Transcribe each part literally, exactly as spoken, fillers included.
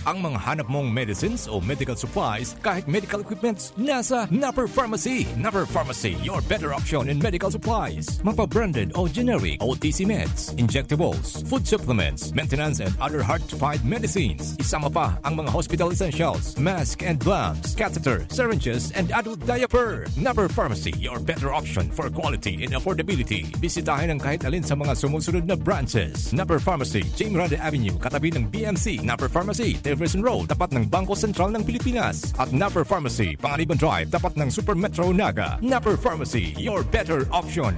Ang mga hanap mong medicines o medical supplies, kahit medical equipments, nasa Napper Pharmacy. Napper Pharmacy, your better option in medical supplies. Mapa branded o generic, O T C meds, injectables, food supplements, maintenance and other hard-to-find medicines. Isama pa ang mga hospital essentials, mask and gloves, catheter, syringes, and adult diaper. Napper Pharmacy, your better option for quality and affordability. Bisitahin ang kahit alin sa mga sumusunod na branches: Napper Pharmacy, Jing Grande Avenue, katabi ng B M C. Napper Pharmacy, Jefferson Road, tapat ng Bangko Sentral ng Pilipinas. At Napper Pharmacy, Panganiban Drive, tapat ng Super Metro Naga. Napper Pharmacy, your better option.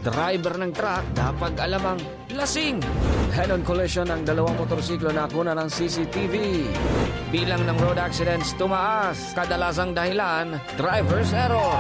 Driver ng truck, dapat alamang lasing. Head-on collision ng dalawang motorsiklo na nakuna ng C C T V. Bilang ng road accidents tumaas, kadalasang dahilan, driver's error.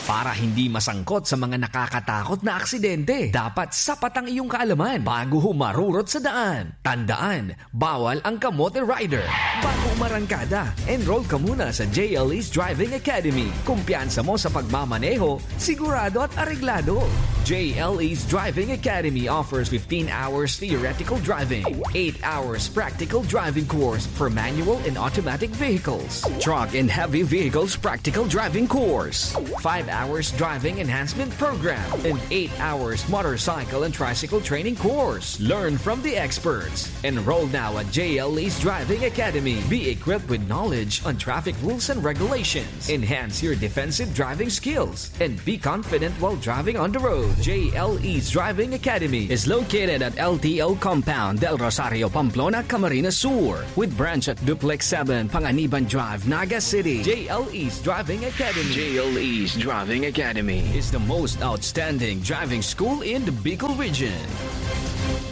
Para hindi masangkot sa mga nakakatakot na aksidente, dapat sapat ang iyong kaalaman bago humarurot sa daan. Tandaan, bawal ang kamote rider. Bago umarangkada, enroll ka muna sa J L E's Driving Academy. Kumpiyansa mo sa pagmamaneho, sigurado at areglado. J L E's Driving Academy offers fifteen hours theoretical driving, eight hours practical driving course for manual and automatic vehicles, truck and heavy vehicles practical driving course, five hours driving enhancement program, and eight hours motorcycle and tricycle training course. Learn from the experts. Enroll now at J L E's Driving Academy. Be equipped with knowledge on traffic rules and regulations. Enhance your defensive driving skills and be confident while driving on the road. J L E's Driving Academy is located at L T O Compound, Del Rosario, Pamplona, Camarines Sur, with branch at Duplex seven, Panganiban Drive, Naga City. J L E's Driving Academy. J L E's Driving Academy is the most outstanding driving school in the Bicol region.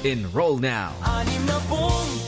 Enroll now.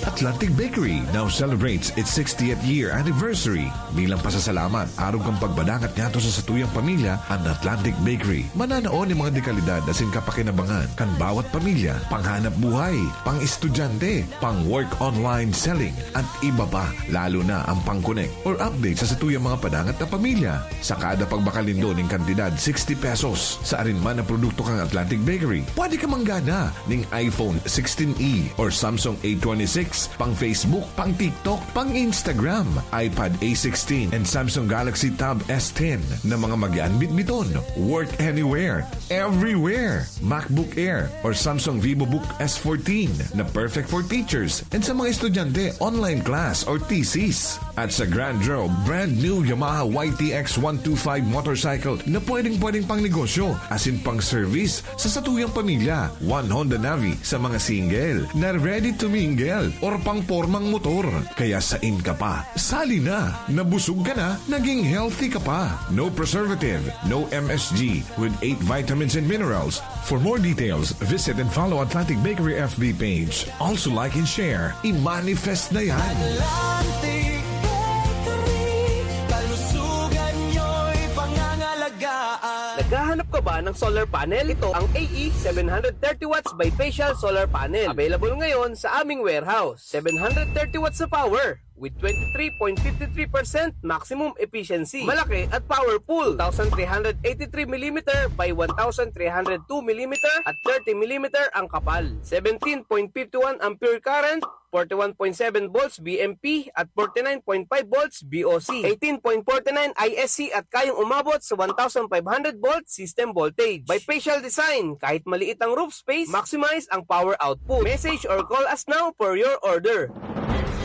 Atlantic Bakery now celebrates its sixtieth year anniversary. Bilang pasasalamat, arog kan pagbadangat ngadto sa satuyang pamilya, an Atlantic Bakery mananao nin mga dekalidad asin kapakinabangan kan bawat pamilya, panghanap buhay, pang-estudyante, pang-work online selling, at iba pa, lalo na ang pang-connect or update sa satuyang mga padangat na pamilya. Sa kada pagbakal nindo nin kantidad sixty pesos sa arin man na produkto kan Atlantic Bakery, pwede ka manggana nin iPhone sixteen E or Samsung A twenty-six, pang Facebook, pang TikTok, pang Instagram, iPad A sixteen, and Samsung Galaxy Tab S ten na mga magian bitbiton. Work anywhere, everywhere. MacBook Air or Samsung VivoBook S fourteen na perfect for teachers and sa mga estudyante, online class or thesis. At sa Grand Draw, brand new Yamaha Y T X one two five motorcycle na pwedeng-pwedeng pang negosyo asin pang service sa satuyang pamilya. One Honda Navi sa mga single na ready to mingle or pang pormang motor. Kaya sain ka pa? Sali na! Nabusog ka na, naging healthy ka pa. No preservative, no M S G, with eight vitamins and minerals. For more details, visit and follow Atlantic Bakery F B page. Also like and share. I-manifest na yan! Atlantic Bakery, kalusugan nyo'y pangangalagaan. Naghahanap ka ba ng solar panel? Ito ang A E seven hundred thirty watts bifacial solar panel. Available ngayon sa aming warehouse. Seven hundred thirty watts na power with twenty-three point five three percent maximum efficiency. Malaki at powerful. Two thousand three hundred eighty-three millimeter by one thousand three hundred two millimeter at thirty millimeter ang kapal. Seventeen point five one ampere current, forty-one point seven volts V M P at forty-nine point five volts V O C. Eighteen point forty-nine I S C at kayang umabot sa one thousand five hundred volt system voltage. Bifacial design, kahit maliit ang roof space, maximize ang power output. Message or call us now for your order.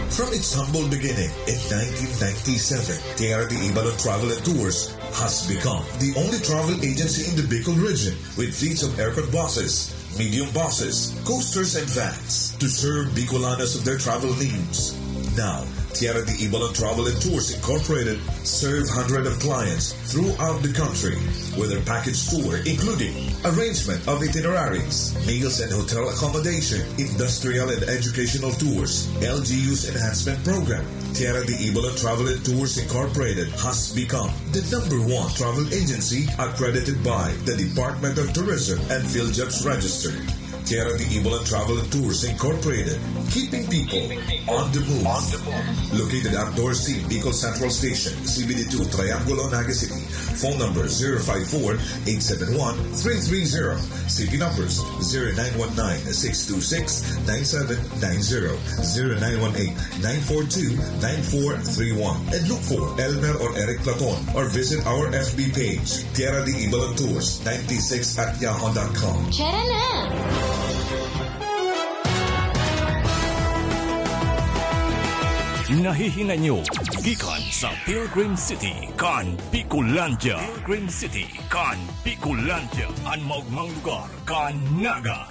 From its humble beginning in nineteen ninety-seven, Tierra de Ibalon Travel and Tours has become the only travel agency in the Bicol region with fleets of aircon buses, medium buses, coasters, and vans to serve Bicolanos of their travel needs. Now, Tierra de Ibalon Travel and Tours Incorporated serve hundreds of clients throughout the country with their package tour, including arrangement of itineraries, meals and hotel accommodation, industrial and educational tours, L G U's enhancement program. Tierra de Ibalon Travel and Tours Incorporated has become the number one travel agency accredited by the Department of Tourism and PhilJobs Register. Tierra de Ibalan Travel and Tours Incorporated, keeping people on the move. Located at Dorsey, Bicol Central Station, C B D two, Triangulo, Naga City. Phone number zero five four, eight seven one, three three zero. C P numbers zero nine one nine, six two six, nine seven nine zero, zero nine one eight, nine four two, nine four three one. And look for Elmer or Eric Platon or visit our F B page, Tierra de Ibalan Tours ninety-six at yahoo dot com. Tara na! Nahihinay nyo gikan sa Pilgrim City kan Bicolandia. Pilgrim City kan Bicolandia, an maogmang lugar kan Naga.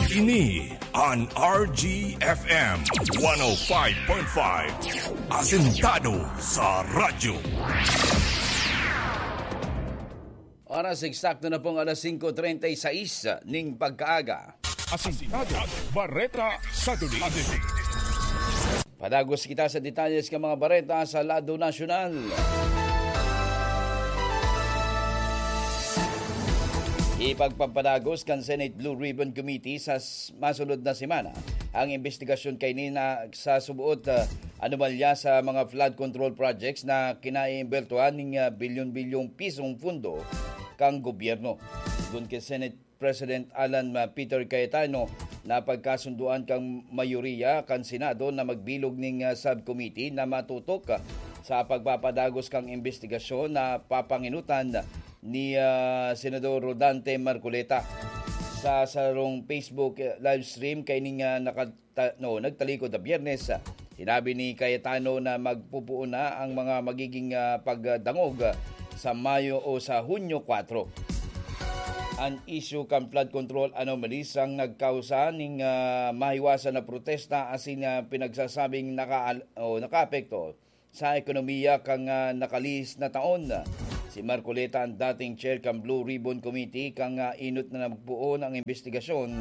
Ini an R G F M one oh five point five, asentado sa radyo. Oras eksakto na pong alas singko treinta y seis ning pagkaaga. Asintado, bareta sa duli. Padagos kita sa detalles kan mga bareta sa lado nasyonal. Ipagpapadagos kan Senate Blue Ribbon Committee sa s-, masunod na semana ang imbestigasyon kaini na sa suboot, ah, anomalya sa mga flood control projects na kinaiimbwertuhan ning, ah, bilyon-bilyong pisong pundo kan gobyerno. Sigon ki Senate President Alan, ah, Peter Cayetano, napagkasundoan kan mayoriya kan Senado na magbilog ning, ah, subcommittee na matutok, ah, sa pagpapadagos kan imbestigasyon na papanginutan ni, ah, Senador Rodante Marcoleta. Sa sarong Facebook, eh, live stream kaining, ah, naka-, ta-, no, nagtalikod na Biyernes, ah, sinabi ni Cayetano na magpupuon na ang mga magiging, ah, pagdangog, ah, sa Mayo o sa Hunyo kwatro. An isyu kan flood control anomalies ang nagkausa ning, ah, mahiwasan na protesta asin, ah, pinagsasabing naka-, o nakaapekto sa ekonomiya kan, ah, nakalihis na taon. Si Marcoleta, ang dating chair kan Blue Ribbon Committee, kan, ah, inot na nagpoon ang imbestigasyon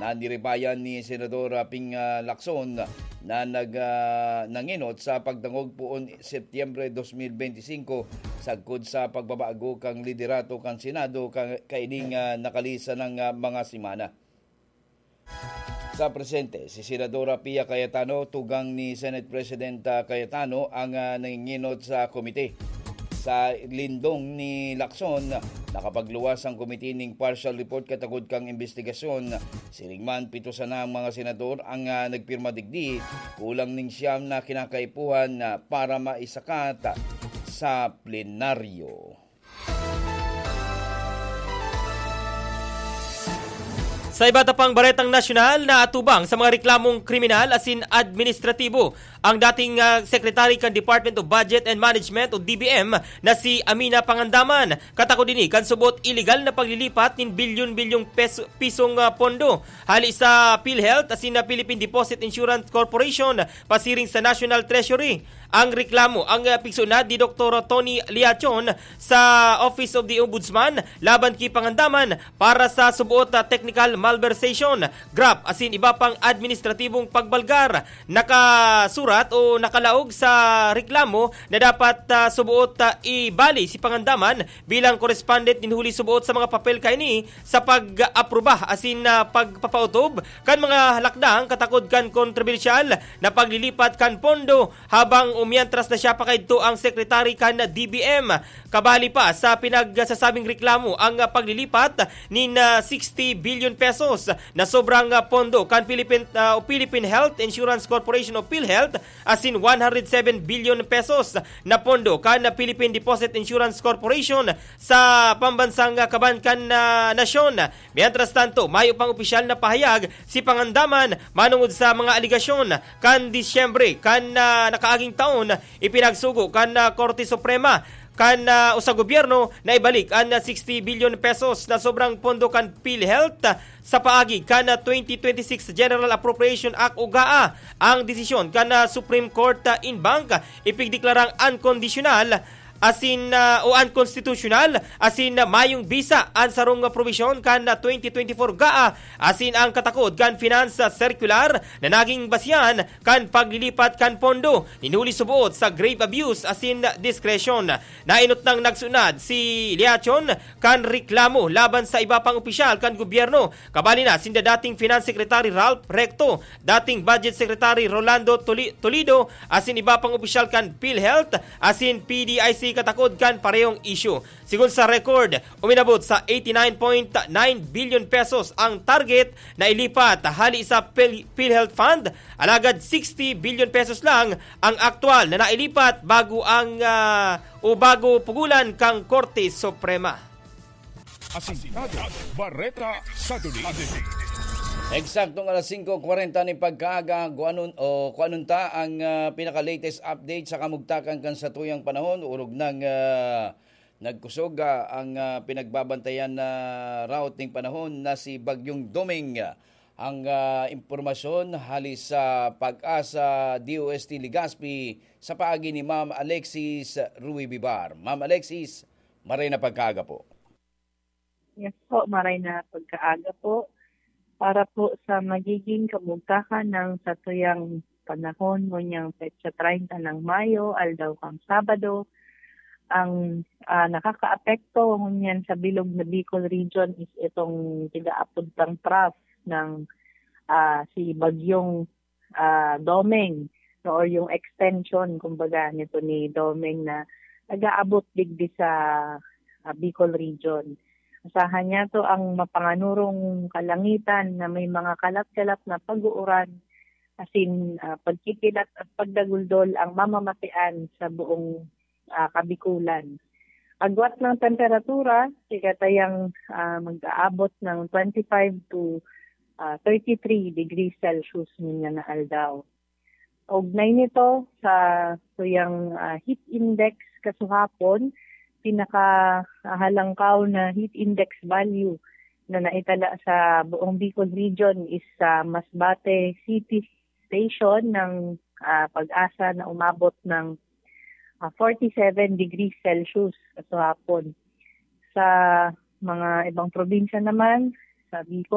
na niribayan ni Senador, ah, Ping, ah, Lacson na nag, ah, nangenot sa pagdangog poon Setyembre dos mil benti singko, sagkod sa pagbabago kan liderato kan Senado ka-, kaining, ah, nakalihis na, ah, mga semana. Sa presente, si Senadora Pia Cayetano, tugang ni Senate President, ah, Cayetano, ang, ah, nanginginot sa komite. Sa lindong ni Lacson, nakapagluwas ang komite ning partial report katakod kan imbestigasyon. Siring man, pito sana ang mga senador ang, ah, nagpirma digdi, kulang ning siyam na kinakaipuhan na para maisakat sa plenaryo. Sa iba ta pang baretang nasyonal, naatubang sa mga reklamong kriminal asin administratibo ang dating, ah, Secretary kan Department of Budget and Management o D B M na si Amina Pangandaman. Katakod ini kan subot iligal na paglilipat nin bilyon-bilyong peso, pisong, ah, pondo hali sa PhilHealth asin na Philippine Deposit Insurance Corporation pasiring sa National Treasury. Ang reklamo ang, ah, pigsunad ni Doktor Tony Liachon sa Office of the Ombudsman laban ki Pangandaman para sa suboot na technical malversation, graft asin iba pang administratibong pagbalgar. Nakasurat o nakalaog sa reklamo na dapat, ah, suboot, ah, ibali si Pangandaman bilang correspondent nin huli suboot sa mga papel kaini sa pag-aproba asin, ah, pagpapautob kan mga lakdang katakod kan kontrobersyal na paglilipat kan pondo habang o mientras na siya pa kaidto ang sekretary kan D B M. Kabali pa sa pinagsasabing reklamo ang, ah, paglilipat nin, ah, sixty billion pesos na sobrang, ah, pondo kan Philippine, ah, o Philippine Health Insurance Corporation o PhilHealth asin one hundred seven billion pesos na pondo kan Philippine Deposit Insurance Corporation sa pambansang, ah, kaban kan, ah, nasyon. Mientras tanto, mayo pang opisyal na pahayag si Pangandaman manungod sa mga alegasyon. Kan Disyembre kan, ah, nakaaging taon, ipinagsugo kan, ah, Korte Suprema kan, ah, o sa gobyerno na ibalik an, ah, sixty billion pesos na sobrang pondo kan PhilHealth, ah, sa paagi kan, ah, twenty twenty-six General Appropriation Act o GAA. Ang desisyon kan, ah, Supreme Court, ah, en banc, ah, ipigdeklarang unconditional asin, ah, o unconstitutional, asin, ah, mayong bisa an sarong probisyon kan, ah, twenty twenty-four GAA, asin ang katakod kan Finance Circular na naging basihan kan paglilipat kan pondo, nin huli suboot sa grave abuse asin discretion. Nainot nang nagsunad si Liachon kan reklamo laban sa iba pang opisyal kan gobyerno, kabali na sinda dating Finance Secretary Ralph Recto, dating Budget Secretary Rolando Toli-, Tolido, asin iba pang opisyal kan PhilHealth asin P D I C katakod kan parehong isyu. Sigon sa record, uminabot sa eighty-nine point nine billion pesos ang target na ilipat hali sa Phil-, PhilHealth Fund, alagad sixty billion pesos lang ang aktual na nailipat bago ang, ah, o bago pugulan kang Korte Suprema. Asintado, Bareta sa Dulig. Eksaktong alas singko kwarenta nin pagkaaga, kung anong, o kung anong ta ang, ah, pinaka-latest update sa kamugtakan kan satuyang panahon, orog nang, ah, nagkusog, ah, ang, ah, pinagbabantayan na route ning panahon na si Bagyong Doming. Ang, ah, impormasyon hali sa Pag-asa D O S T Legazpi sa paagi ni Ma'am Alexis Rui Bibar. Ma'am Alexis, maray na pagkaaga po. Yes po, maray na pagkaaga po. Para po sa magiging kamugtakan ng satuyang panahon, ngunyan petsa treinta ng Mayo, aldaw kang Sabado, ang, ah, nakakaapekto ngunyan sa bilog na Bicol Region is itong tigaapod tang trough ng, ah, si Bagyong, ah, Domeng, no, or yung extension, kumbaga, nito ni Domeng na nag-aabot digdi sa, ah, Bicol Region. Asahan niya to ang mapanganurong kalangitan na may mga kalat-kalat na pag-uuran, asin, ah, pagkikilat at pagdaguldol ang mamamasean sa buong, ah, Kabikulan. Agwat ng temperatura, sigatayang, ah, mag-aabot ng twenty-five to, ah, thirty-three degrees Celsius ngunyan na aldaw. Kaugnay nito sa tuyang, ah, heat index kasuhapon, pinakahalangkaw na heat index value na naitala sa buong Bicol Region is sa Masbate City Station ng, ah, Pag-asa na umabot ng, ah, forty-seven degrees Celsius kasuhapon. Sa mga ibang probinsya naman, sa Bicol,